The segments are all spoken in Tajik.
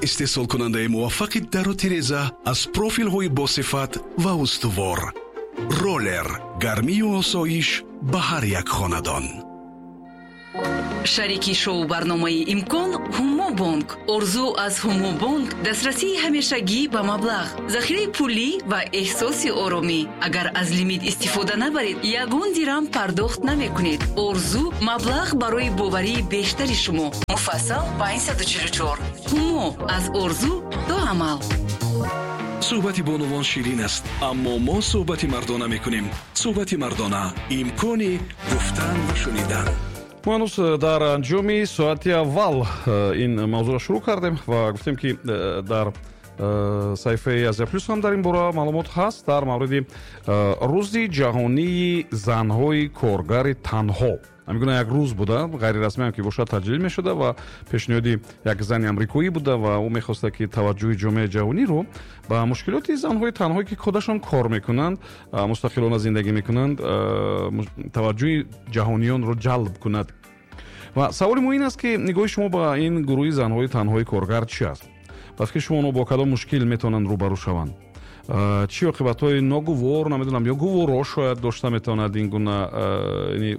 Истеҳсолкунандаи муваффақи дару тиреза аз профилҳои босифат ва устувор. Ролер: гармию осоиш ба ҳар як хонадон. Шарики шоу-барномаи «Имкон» Ҳумобонк. Орзу аз Ҳумобонк: дастрасии ҳамешагӣ ба маблағ, захираи пулӣ ва эҳсоси оромӣ. Агар аз лимит истифода набаред, ягон дирам пардохт намекунед. Орзу: маблағ барои боварии бештари шумо. Муфассал 544. Ҳумо: аз орзу то амал. Суҳбати бонувон ширин аст, аммо мо суҳбати мардона мекунем. Суҳбати мардона: имкони гуфтан ва шунидан. Мо ҳанӯз дар анҷоми соати аввал ин мавзӯъро шурӯъ кардем ва гуфтем, ки дар саҳифаи Азия Плюс ҳам дар ин бора маълумот ҳаст, дар мавриди Рӯзи ҷаҳонии занҳои коргари танҳо. Ҳамин гуна як рӯз буда, ғайрирасмиам ки бошад, таҷлил мешуда ва пешниҳоди як зани амрикоӣ буда ва ӯ мехоста, ки таваҷҷӯҳи ҷомеаи ҷаҳониро ба мушкилоти занҳои танҳое, ки худашон кор мекунанд, мустақилона зиндагӣ мекунанд, таваҷҷӯҳи ҷаҳониёнро ҷалб кунад. Ва саволи мо ин аст, ки нигоҳи шумо ба ин гурӯҳи занҳои танҳои коргар чӣ аст? Ба фикри шумо, онҳо бо кадом мушкил метавонанд рӯбарӯ шаванд? Чӣ оқибатҳои ногувор, намедонам, ё гуворо шояд дошта метавонад ин гуна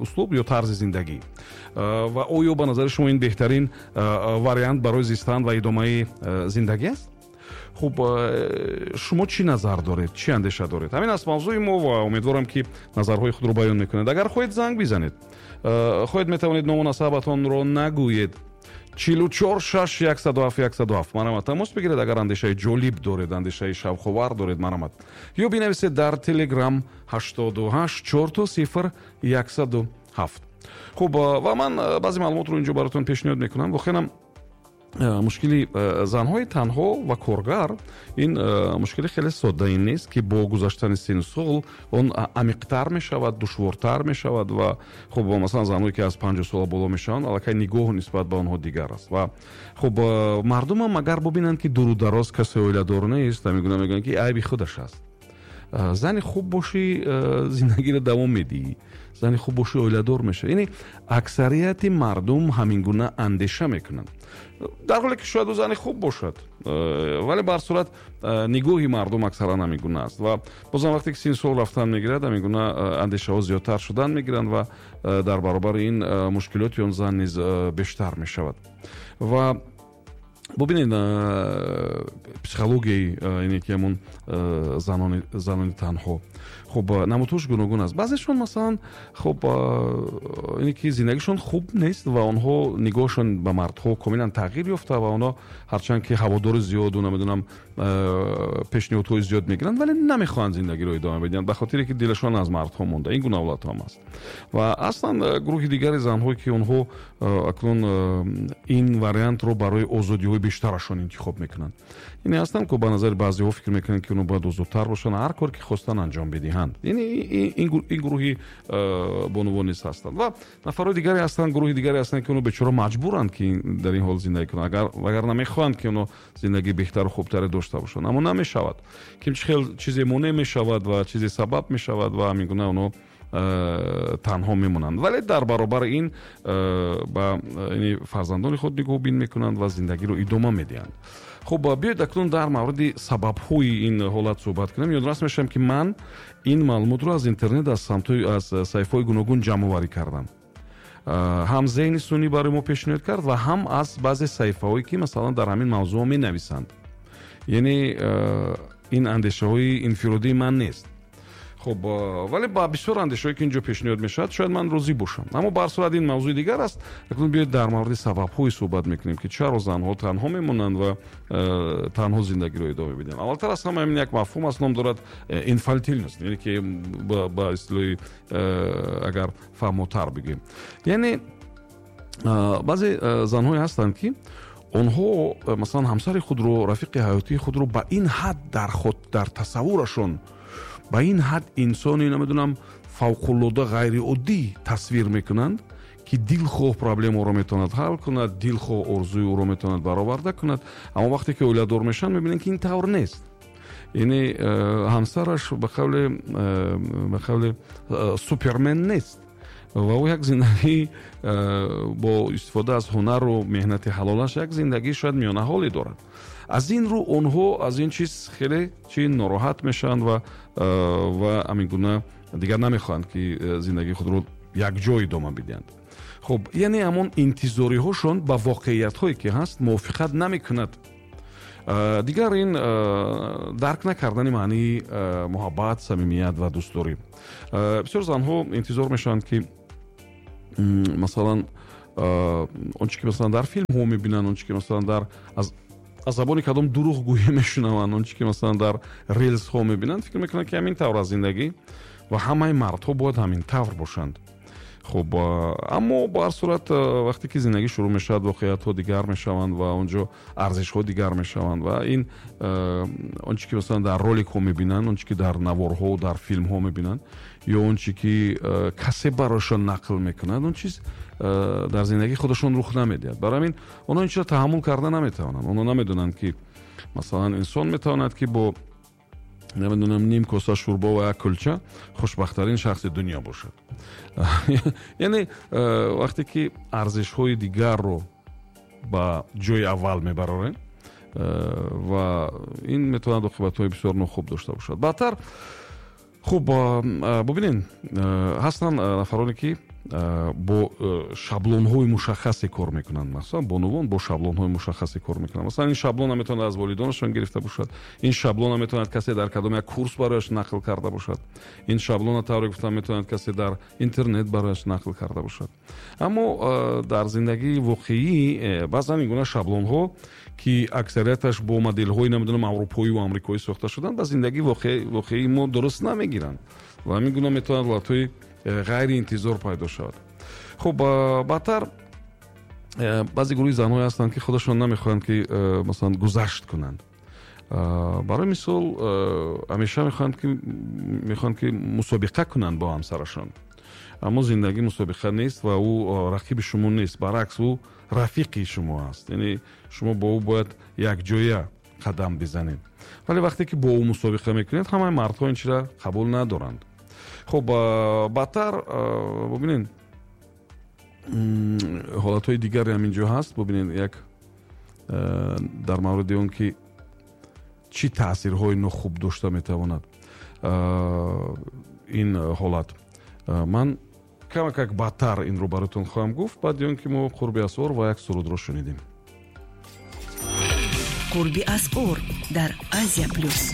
услуб ё тарзи зиндагӣ? Ва оё ба назари шумо ин беҳтарин вариант барои зистан ва идомаи зиндагӣ аст? Хуб, шумо чӣ назар доред, чӣ андеша доред? Ҳамин аст мавзӯи мо ва умедворам, ки назарҳои худро баён мекунед. Агар хоҳед, занг бизанед, хоҳед, метавонед ному насабатонро нагӯед. 44 6 107 107, марҳамат, тамос бигиред, агар андешаи ҷолиб доред, андешаи шавқовар доред, марҳамат. Ё бинависед дар Телеграм: 88 000 107. Хуб, ва ман баъзе маълумотро инҷо баротон пешниҳод мекунам. Воқеан, мушкили занҳои танҳо ва коргар ин мушкили хеле соддае нест, ки бо гузаштани синну сол он амиқтар мешавад, душвортар мешавад. Ва хуб, масалан, занҳое, ки аз 50 сола боло мешаванд, аллакай нигоҳ нисбат ба онҳо дигар аст. Ва хуб, мардумам агар бубинанд, ки дуру дароз касе оиладор нест, ҳамин мегӯянд, ки айби худаш аст. Зани хуб бошӣ, зиндагиро давом медиҳӣ, зани хуб бошӣ, оиладор мешавӣ. Яъне аксарияти мардум ҳамин гуна андеша мекунанд, дар ҳоле ки шояд ӯ зани хуб бошад, вале ба ҳар сурат нигоҳи мардум аксаран ҳамин гуна аст. Ва бозам вақте ки синну сол рафтан мегирад, ҳамин гуна андешаҳо зиёдтар шудан мегиранд ва дар баробари ин мушкилоти он зан низ бештар мешавад. Ва бубинед, психологияи ине ки ҳамон занони танҳо, хуб, намудҳош гуногун аст. Баъзешон, масалан, хуб, ине ки зиндагишон хуб нест ва онҳо нигоҳшон ба мардҳо комилан тағйир ёфта ва онҳо ҳарчанд ки ҳаводори зиёду, намедонам, пешниҳодҳои зиёд мегиранд, вале намехоҳанд зиндагиро идома бидиҳанд, ба хотире ки дилашон аз мардҳо монда. Ин гуна ҳолатҳо ҳам аст. Ва аслан гурӯҳи дигари занҳое, ки онҳо акнун ин вариантро барои озодиҳои бештарашон интихоб мекунанд. Яъне ҳастанд, ки ба назари баъзеҳо фикр мекунанд, ки онҳо бояд озодтар бошанд, ҳар кор ки хостанд, анҷом бидиҳанд. Яъне ин гурӯҳи бонувон низ ҳастанд. Ва нафарҳои дигаре ҳастанд, гурӯҳи дигаре ҳастанд, ки онҳо бечора маҷбуранд, ки дар ин ҳол зиндагӣ кунанд, вагарна мехоҳанд, ки онҳо зиндагии беҳтару хубтаре дошта бошанд, аммо намешавад, ки хел чизе монеъ мешавад ва чизе сабаб мешавад ва ҳамин гуна онҳо танҳо мемонанд, вале дар баробари ин ба фарзандони худ нигоҳубин мекунанд ва зиндагиро идома медиҳанд. Хуб, биёед акнун дар мавриди сабабҳои ин ҳолат суҳбат кунем. Ёдрас мешавам, ки ман ин маълумотро аз интернет, аз самтҳои, аз саҳифаҳои гуногун ҷамъоварӣ кардам. Ҳам зеҳни сунъӣ барои мо пешниҳод кард ва ҳам аз баъзе саҳифаҳое, ки масалан дар ҳамин мавзӯъ менависанд. Яъне ин андешаҳои инфиродии ман нест. Хуб, вале ба бисёр андешаҳое, ки инҷо пешниҳод мешавад, шояд ман розӣ бошам, аммо ба ҳар сурат ин мавзӯи дигар аст. Акнун биёед дар мавриди сабабҳое суҳбат мекунем, ки чаро занҳо танҳо мемонанд ва танҳо зиндагиро идома медиҳанд. Аввалтар аз ҳама, ҳамин як мафҳум аст, ном дорад инфантильность, яъне ки ба истилоҳи агар фаҳмотар бигӯем, яъне баъзе занҳое ҳастанд, ки онҳо масалан ҳамсари худро, рафиқи ҳаётии худро ба ин ҳад дар тасаввурашон ба ин ҳад инсони, намедонам, фавқулода ғайриоддӣ тасвир мекунанд, ки дилхоҳ проблемаро метавонад ҳал кунад, дилхоҳ орзуи ӯро метавонад бароварда кунад. Аммо вақте ки оиладор мешаванд, мебинанд, ки ин тавр нест. Яъне ҳамсараш ба қавле супермен нест. Ва ӯ як зиндагӣ бо истифода аз ҳунару меҳнати ҳалолаш як зиндагии шояд миёнаҳоле дорад. Аз ин рӯ онҳо аз ин чиз хеле чи нороҳат мешаванд ва ҳамин гуна дигар намехоҳанд, ки зиндагии худро якҷо идома бидиҳанд. Хуб, яъне ҳамон интизориҳошон ба воқеиятҳое ки ҳаст мувофиқат намекунад. Дигар ин дарк накардани маънии муҳаббат, самимият ва дӯстдорӣ. Бисёр занҳо интизор мешаванд, ки масалан он чи ки масалан дар филмҳо мебинанд, он чи ки масалан дар аз забони кадом дурӯғгӯӣ мешунаванд, он чи ки масалан дар рилсҳо мебинанд, фикр мекунанд, ки ҳамин тавр аст зиндагӣ ва ҳамаи мардҳо бояд ҳамин тавр бошанд. Хуб, аммо ба ҳар сурат вақте ки зиндагӣ шурӯъ мешавад, воқеиятҳо дигар мешаванд ва он ҷо арзишҳо дигар мешаванд ва ин он чи ки масалан дар роликҳо мебинанд, он чи ки дар наворҳо, дар филмҳо мебинанд ё он чи ки касе барояшон нақл мекунад, он чиз дар зиндагии худашон рух намедиҳад. Барои ҳамин онҳо ин чизро таҳаммул карда наметавонанд. Онҳо намедонанд, ки масалан инсон метавонад, ки бо намедонам ним коса шӯрбо ва як кулча хушбахттарин шахси дунё бошад. Яъне вақте ки арзишҳои дигарро ба ҷои аввал мебарорем, ва ин метавонад оқибатҳои бисёр нохуб дошта бошад. Баъдтар хуб, бубинед, ҳастанд нафароне, ки бо шаблонҳои мушаххасе кор мекунанд. Масалан, бонувон бо шаблонҳои мушаххасе кор мекунанд. Масалан, ин шаблона метавонад аз волидонашон гирифта бошад, ин шаблона метавонад касе дар кадом як курс барояш нақл карда бошад, ин шаблона, тавре гуфтам, метавонад касе дар интернет барояш нақл карда бошад. Аммо дар зиндагии воқеӣ баъзан ин гуна шаблонҳо, ки аксарияташ бо моделҳои намедонам аврупоӣ ва амрикоӣ сохта шуданд, ба зиндагии воқеии мо дуруст намегиранд ва ҳамин гуна метавонад ҳолатҳои ғайриинтизор пайдо шавад. Хуб, баъдтар баъзе гурӯҳи занҳое ҳастанд, ки худашон намехоҳанд, ки масалан гузашт кунанд. Барои мисол, ҳамеша мехоҳанд, ки мусобиқа кунанд бо ҳамсарашон. Аммо зиндагӣ мусобиқа нест ва ӯ рақиби шумо нест, баръакс ӯ рафиқи шумо аст. Яъне шумо бо ӯ бояд якҷоя қадам бизанед. Вале вақте ки бо ӯ мусобиқа мекунед, ҳамаи мардҳо ин чизро қабул надоранд. Хуб, баъдтар бубинед, ҳолатҳои дигаре ҳам инҷо ҳаст. Бубинед, як дар мавриди он ки чӣ таъсирҳои нохуб дошта метавонад ин ҳолат, ман камакак баъдтар инро бароятон хоҳам гуфт, баъди он ки мо қурби асъор ва як сурудро шунидем. Қурби асъор дар Азия Плюс.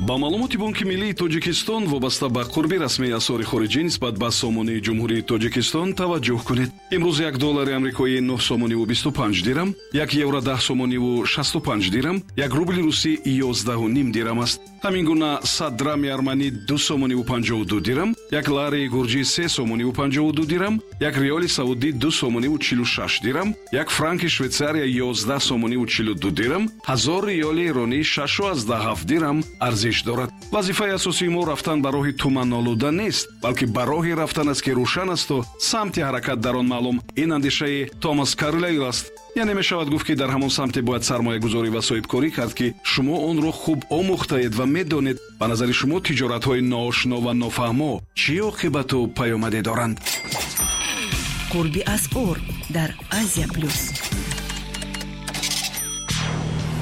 Ба маълумоти Бонки Миллии Тоҷикистон вобаста ба қурби расмии асъори хориҷӣ нисбат ба сомонии Ҷумҳурии Тоҷикистон таваҷҷӯҳ кунед. Имрӯз 1 доллари амрикоӣ 9 сомониву 25 дирам, 1 евро 10 сомониву 65 дирам, 1 рубли русӣ 11,5 дирам аст. Ҳамин гуна 100 драми арманӣ 2 сомониву 52 дирам, 1 лари гурҷӣ 3 сомониву 52 дирам, 1 риёли саудӣ 2 сомониву 46 дирам, 1 франки Швейтсария 11 сомониву 42 дирам, 1000 риёли эронӣ 6,7 дирам арзиш дорад. Вазифаи асосии мо рафтан ба роҳи туманолуда нест, балки ба роҳе рафтан аст, ки рӯшан асту самти ҳаракат дар он маълум. Ин андешаи Томас Карлайл аст. Яъне мешавад гуфт, ки дар ҳамон самте бояд сармоягузорӣ ва соҳибкорӣ кард, ки шумо онро хуб омӯхтаед ва медонед. Ба назари шумо тиҷоратҳои ноошно ва нофаҳмо чӣ оқибату паёмаде доранд? Қурби асъор дар Азия Плюс.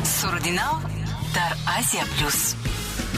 Суруди нав дар Азия Плюс.